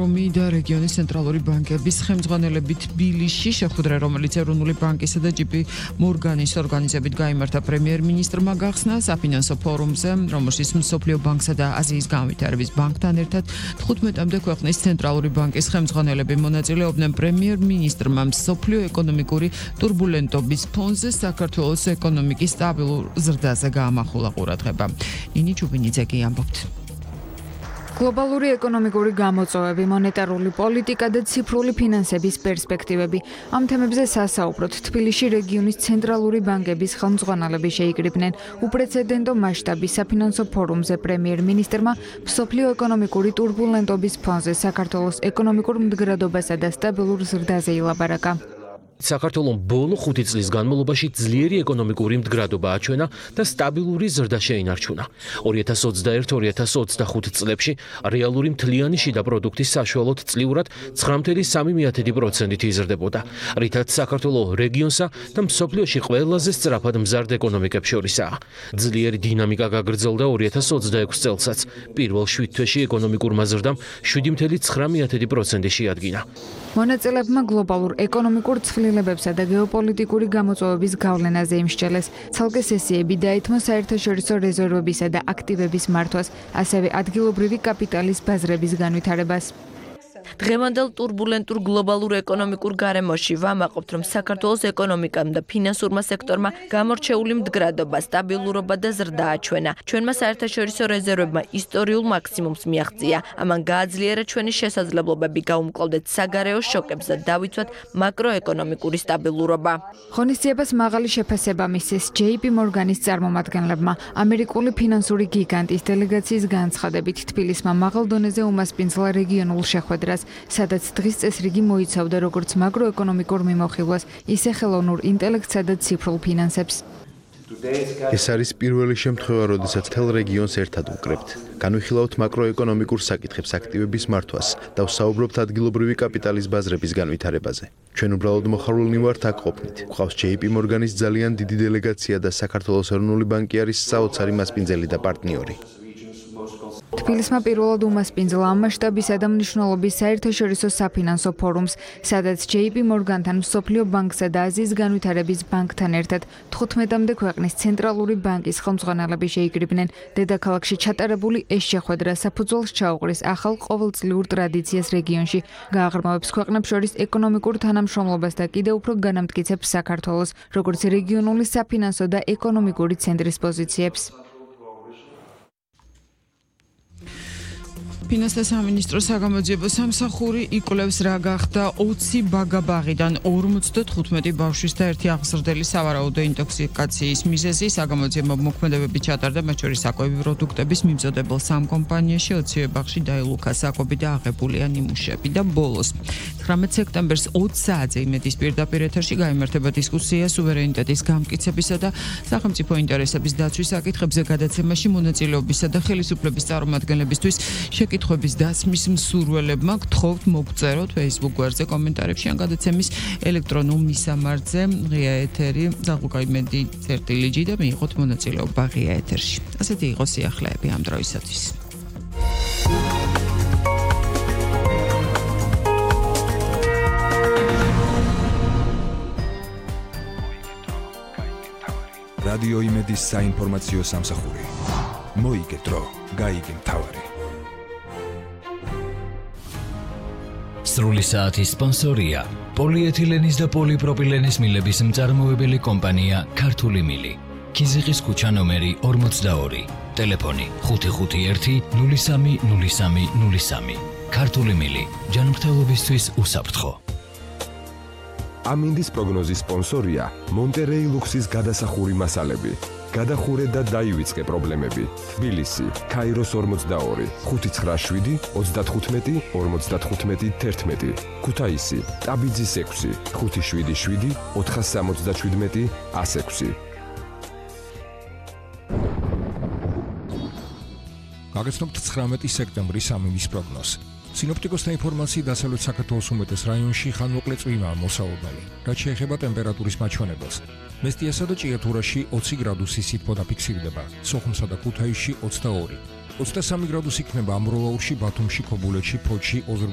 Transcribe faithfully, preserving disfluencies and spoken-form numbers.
ფორუმი და რეგიონის ცენტრალური ბანკების ხელმძღვანელები თბილისში შეხვედრა, რომელიც ეროვნული ბანკისა და ჯეი პი მორგანის ორგანიზებით გაიმართა პრემიერ-მინისტრმა გახსნა საფინანსო ფორუმზე, რომელშიც მსოფლიო ბანკსა და აზიის განვითარების ბანკთან ერთად თხუთმეტამდე ქვეყნის ცენტრალური ბანკის ხელმძღვანელები მონაწილეობდნენ. პრემიერ-მინისტრმა მსოფლიო ეკონომიკური ტურბულენტობის ფონზე საქართველოს ეკონომიკის სტაბილურ ზრდაზე გაამახვილა ყურადღება. ნინი ჩუბინიძე კი ამბობთ. გლობალური ეკონომიკური გამოწვევები, მონეტარული პოლიტიკა და ციფრული ფინანსების პერსპექტივები. ამ თემებზე სასაუბროთ თბილისში რეგიონის ცენტრალური ბანკების ხელმძღვანელები შეიკრიბნენ. უპრეცედენტო მასშტაბის საფინანსო ფორუმზე პრემიერ-მინისტრმა მსოფლიო ეკონომიკური ტურბულენტობის ფონზე საქართველოს ეკონომიკურ მდგრადობასა და სტაბილურ ზრდაზე ილაბარაკა. საქართველოს ბოლო ხუთი წლის განმავლობაში ძლიერი ეკონომიკური მდგრადობა აჩვენა და სტაბილური ზრდა შეინარჩუნა. ორი ათას ოცდაერთი ორი ათას ოცდახუთი წლებში რეალური მთლიანი შიდა პროდუქტი საშუალოდ წლიურად ცხრა წუთი სამი პროცენტით იზრდებოდა, რითაც საქართველოს რეგიონსა და მსოფლიოში ყველაზე სწრაფად მზარდ ეკონომიკებს შორისაა. ძლიერი დინამიკა გაგრძელდა ორი ათას ოცდაექვსი წელსაც. პირველ შვიდ თვეში ეკონომიკურმა ზრდამ შვიდი წუთი ცხრა პროცენტი შეადგინა. მონაწილეებმა გლობალურ ეკონომიკურ ცვლილებებსა და გეოპოლიტიკური გამოწვევების გავლენაზე იმსჯელეს. ცალკე სესიები დაეთმო საერთაშორისო რეზერვებისა და აქტივების მართვას, ასევე ადგილობრივი კაპიტალის ბაზრების განვითარებას. დღევანდელ ტურბულენტურ გლობალურ ეკონომიკურ გარემოში ვამაყობთ, რომ საქართველოს ეკონომიკამ და ფინანსურმა სექტორმა გამორჩეული მდგრადობა, სტაბილურობა და ზრდა აჩვენა. ჩვენმა საერთაშორისო რეზერვებმა ისტორიულ მაქსიმუმს მიაღწია. ამან გააძლიერა ჩვენი შესაძლებლობები გაუმკლავდეთ საგარეო შოკებს და დავიცვათ მაკროეკონომიკური სტაბილურობა. ღონისძიებას მაღალი შეფასება მისცეს ჯეი პი მორგანის წარმომადგენლებმა. ამერიკული ფინანსური გიგანტის დელეგაციის განცხადებით თბილისმა მაღალ დონეზე უმასპინძლა რეგიონულ შეხვედრას, სადაც დღის წესრიგი მოიცავდა როგორც მაკროეკონომიკურ მიმოხილვას, ისე ხელოვნურ ინტელექტსა და ციფრულ ფინანსებს. ეს არის პირველი შემთხვევა, როდესაც მთელ რეგიონს ერთად ვკრებთ. განვიხილავთ მაკროეკონომიკურ საკითხებს, აქტივების მართვას და ვსაუბრობთ ადგილობრივი კაპიტალის ბაზრების განვითარებაზე. ჩვენ უბრალოდ მოხარულნი ვართ აქ ყოფნით. გვყავს ჯეი პი მორგანის ძალიან დიდი დელეგაცია და საქართველოს ეროვნული ბანკი არის საოცარი მასპინძელი და პარტნიორი. თბილისმა პირველად უმასპინძლა ამ მასშტაბისა და მნიშვნელობის საერთაშორისო საფინანსო ფორუმს, სადაც ჯეი პი მორგანთან, მსოფლიო ბანკსა და აზიის განვითარების ბანკთან ერთად თხუთმეტამდე ქვეყნის ცენტრალური ბანკის ხელმძღვანელები შეიკრიბნენ. დედაქალაქში ჩატარებული ეს შეხვედრა საფუძველს ჩაუყრის ახალ ყოველწლიურ ტრადიციას რეგიონში, გააღრმავებს ქვეყნებს შორის ეკონომიკურ თანამშრომლობას და კიდევ უფრო განამტკიცებს საქართველოს, როგორც რეგიონული საფინანსო და ეკონომიკური ცენტრის პოზიციებს. ფინანსთა სამინისტროს საგამოძიებო სამსახური იკვლევს რა გახდა ოცი ბაგაბაღიდან ორმოცდათხუთმეტი ბავშვის და ერთი აღზრდელი სავარაუდო ინტოქსიკაციის მიზეზი. საგამოძიებო მოქმედებები ჩატარდა, მათ შორის საკვები პროდუქტების მიმზოდებელ სამ კომპანიაში, ოცივე ბაღში დაილუქა საკვები და აღებულია ნიმუშები და ბოლოს ცხრამეტ სექტემბერს ოცი საათზე იმედის პირდაპირ ეთერში გაიმართება დისკუსია სუვერენიტეტის გამტკიცებისა და სახელმწიფო ინტერესების დაცვის საკითხებზე გადაცემაში მონაწილეობისა და ხელისუფლების წარმომადგენლებისთვის კითხვების დასმის მსურველებმა გთხოვთ მოგწეროთ Facebook გვერდზე კომენტარებში ან გადაცემის ელექტრონულ მისამართზე ღია ეთერი ზაღუკაიმედი წერტილი ჯი და მიიღოთ მონაწილეობა ღია ეთერში. ასეთი იყო სიახლეები ამ დროისათვის. რადიო იმედის საინფორმაციო სამსახური. მოიგეთ დრო, გაიგე მთავარი. სრული საათის სპონსორია პოლიეთილენის და პოლიპროპილენის მილების მწარმოებელი კომპანია ქართული მილი. ქიზიყის ქუჩა ნომერი ორმოცდაორი. ტელეფონი ხუთი ხუთი ერთი ნული სამი ნული სამი ნული სამი. ქართული მილი. ჯანმრთელობისთვის უსაფრთხო. ამინდის პროგნოზის სპონსორია მონტერეი ლუქსის გადასახური მასალები. გადახურე და დაივიწყე პრობლემები. თბილისი, ქაიროს ორმოცდაორი, ხუთი ცხრა შვიდი ოცდათხუთმეტი ორმოცდათხუთმეტი თერთმეტი. ქუთაისი, ტაბიძის ექვსი, ხუთი შვიდი შვიდი ოთხას სამოცდაშვიდმეტი ას ექვსი. გაგაცნობთ ცხრამეტი სექტემბრის ამინდის პროგნოზი. სინოპტიკოსთა ინფორმაციით დასავლეთ საქართველოს უმეტეს რაიონში ხანმოკლე წვიმაა მოსალოდნელი, რაც შეეხება ტემპერატურის მაჩვენებელს. მესტიასა და ჭიათურაში ოცი გრადუსი სითბო დაფიქსირდება, სოხუმსა და ქუთაისში ოცდაორი. ოცდასამი გრადუსი იქნება ამბროლაურში, ბათუმში, ქობულეთში, ფოთში, ოზურგეთში